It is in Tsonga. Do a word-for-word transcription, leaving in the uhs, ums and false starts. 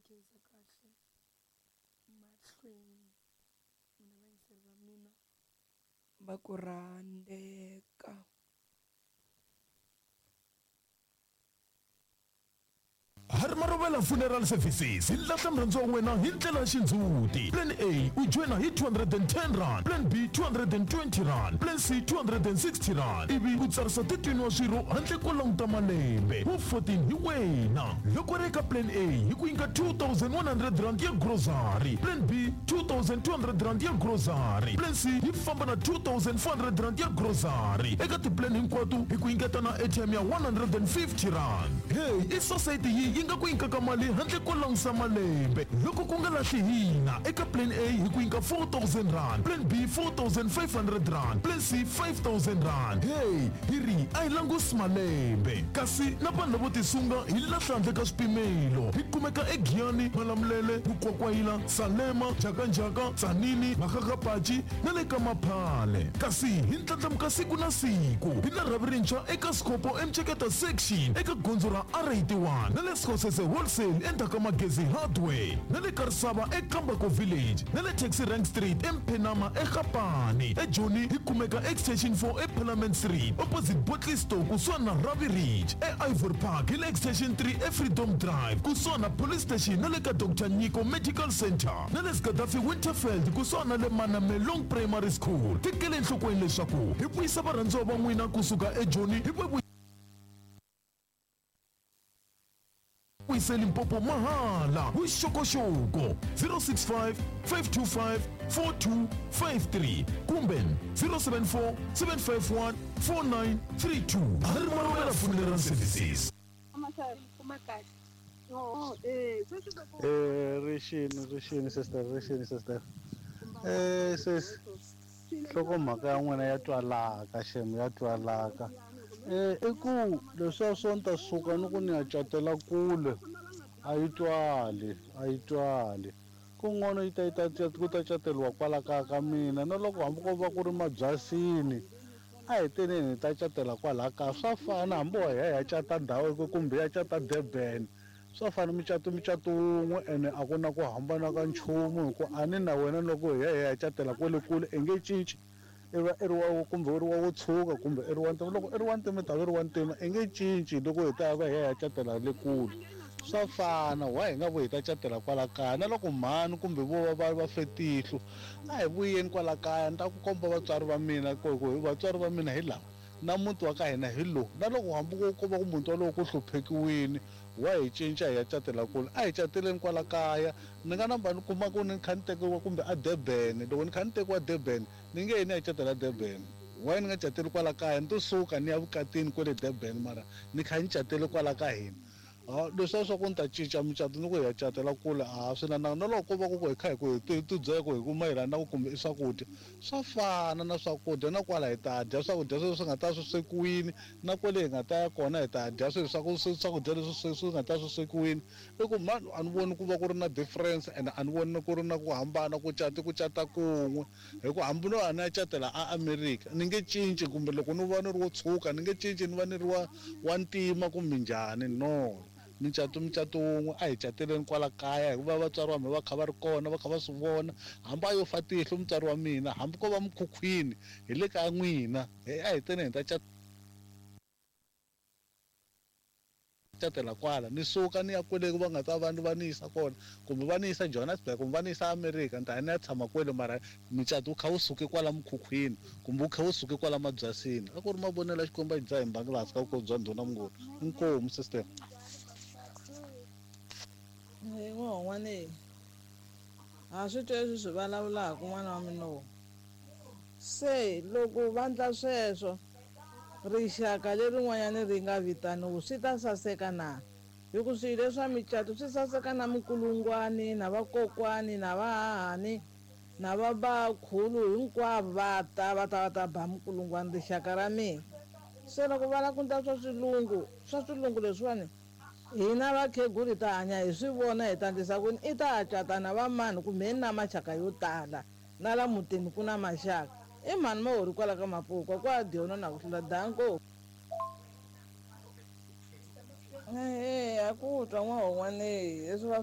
khensa kahle mahlweni n'wina vayingiseri va mina va ku rhandzeka. Harimarovela Funeral Services hi lahla murhandziwa wa wena hi ndlela ya xindzhuti. Plan A u joyina hi two hundred and ten rand, Plan B two hundred and twenty rand, Plan C two hundred and sixty rand, ivi u tsarisa thirteen wa swirho handle ko languta malembe. Wu fourteen hi wena. Loko ri eka Plan A hi ku nyika two thousand one hundred rand ya grocery, Plan B two thousand two hundred rand ya grocery, Plan C yi famba na two thousand four hundred rand ya grocery. Eka ti-plan hinkwato hi ku nyiketa na airtime ya one hundred and fifty rand. Hey, i society yi yi nga ku nyikaka mali handle ko langusa malembe. Loko ku nga lahli hina, eka Plan A hi ku nyika four thousand rand, Plan B four thousand five hundred rand, Plan C five thousand rand. Hey, hi ri a hi langusi malembe. Kasi na vanhu lavo tisunga hi lahla handle ka swipimelo. Hi kumeka eGiyani, Malamulele, Mukwakwayila, Salema, Njhakanjhaka, Tzaneen, Makgakgapachi na le ka Maphale. Kasi hi ndlandlamuka siku na siku. Hi na rhavi rintshwa eka Sikopo eMceketa section eka gondzo ra R eighty-one na le Sekgosese Wholesale endzhaku ka Magezi Hardware na le Karisava eKambako Village na le Taxi Rank Street eMphenama eGapane. EJoni hi kumeka Extension four eParliament Street opposite Botley Store kusuhani na Ravi Ridge. E-Ivory Park hi le Extension three eFreedom Drive kusuhani na Police Station na le ka Doctor Nyiko Medical Center na le Gaddafi Winterfeld kusuhani na le Manamelong Primary School. Tekele enhlokweni leswaku hi vuyisa varhandziwa va n'wina kusuka eJoni hi va vuyise Limpopo mahala. Vuxokoxoko zero six five, five two five, four two five three kumbe zero seven four, seven five one, four nine three two. Harimarovela Funeral Services. Eh, rixini, rixini sister, rixini sister. Eh, sis, nhlokomhaka ya n'wina ya twalaka xem, ya twalaka. Eh, i ku leswiya swo ni ta suka ni ku ni ya catela kule a yi twali, a yi twali. Kun'wana yi ta yi ta ku ta cateliwa kwala kaya ka mina na loko hambi ko va ku ri mabyasini a hi teneni hi ta catela kwala kaya. Swa fana hambi wa hi ya hi ya cata ndhawu kumbe ya cata Durban, swa fana micato micato wun'we ene a ku na ku hambana ka nchumu hi ku a ni na wena loko hi ya hi ya catela kwale kule i nge cinci. I va i ri wa kumbe u ri wa wo tshuka kumbe i ri wa ntima, loko i ri wa ntima i ta va i ri wa ntima, i nge cinci loko hi ta va hi ya hi ya catela le kule. Swa fana wa hi nga vuyi hi ta catela kwala kaya na loko mhani kumbe vo va va va fe tihlo a hi vuyeni kwala kaya ni ta ku komba vatswari va mina ku ku vatswari va mina hi lava na muti wa ka hina hi lowu. Na loko hambi ko ko va ku muti walowo ku hluphekiwini wa hi cinca hi ya catela kule, a hi cateleni kwala kaya. Ni nga namba ni kuma ku ni kha ni tekiwa kumbe a Durban, loko ni kha ni tekiwa Durban ni nge yi ni ya catela Durban. Why ni nga cateli kwala kaya? Ni to suka ni ya vukatini kwale Durban mara ni kha ni catele kwala ka hina. Ah, leswiya swa ku ni ta cinca micato ni ku hi ya catela kule a swi na na na loko ko va ku ku hi kha hi ku hi ti ti byela ku hi ku mayelana na ku kumbe i swakudya swa fana na swakudya na kwala hi ta dya swakudya sweswi swi nga ta swi swekiwini na kwale hi nga ta ya kona hi ta dya swilo swa ku swakudya leswi swi swi nga ta swi swekiwini. I ku mani a ni voni ku va ku ri na difference ene a ni voni ku ri na ku hambana ku cata ku cata kun'we hi ku hambi no a ni ya catela a America ni nge cinci kumbe loko ni va ni ri wo tshuka ni nge cinci ni va ni ri wa wa ntima kumbe njhani, no. Micato micato wun'we a hi cateleni kwala kaya hikuva vatswari va mina va kha va ri kona va kha va swi vona hambi a yo fa tihlo mutswari wa mina hambi ko va mukhukhwini hi le ka n'wina a hi teni hi ta catela kwala ni suka ni ya kwele va nga ta va va ni yisa kona kumbe va ni yisa Johannesburg kumbe va ni yisa America ni ta ni ya tshama kwele mara micato wu kha wu suke kwala mukhukhwini kumbe wu kha wu suke kwala mabyasini. A ku ri mavonelo ya Xikwembu a xi dzaha hi mbangi laha hansi ka vukosi bya ndhuna Mnguni. Inkomu sister. N'wana ha swi twa leswi swi vulavulaka n'wana wa mina lowu. Se loko va ndla sweswo rixaka lerin'wanyana ri nga vitaniwi swi ta saseka na? Hi ku swilo leswa micato swi saseka na minkulungwani na vakokwani na vahahani na vabakhulu hinkwavo va ta va ta va ta ba minkulungwani rixaka ra mina. Se loko va lava ku ndla swa swilungu swa swilungu leswiwani hina vakhegula hi ta hanya hi swi vona hi ta endlisa ku i ta cata na va mani kumbe hi na maxaka yo tala na la mutini ku na maxaka i mhani mahori kwala ka Mapukwa kwa dyona na ku hlula danko. Eya ku twa n'wana leswi va swi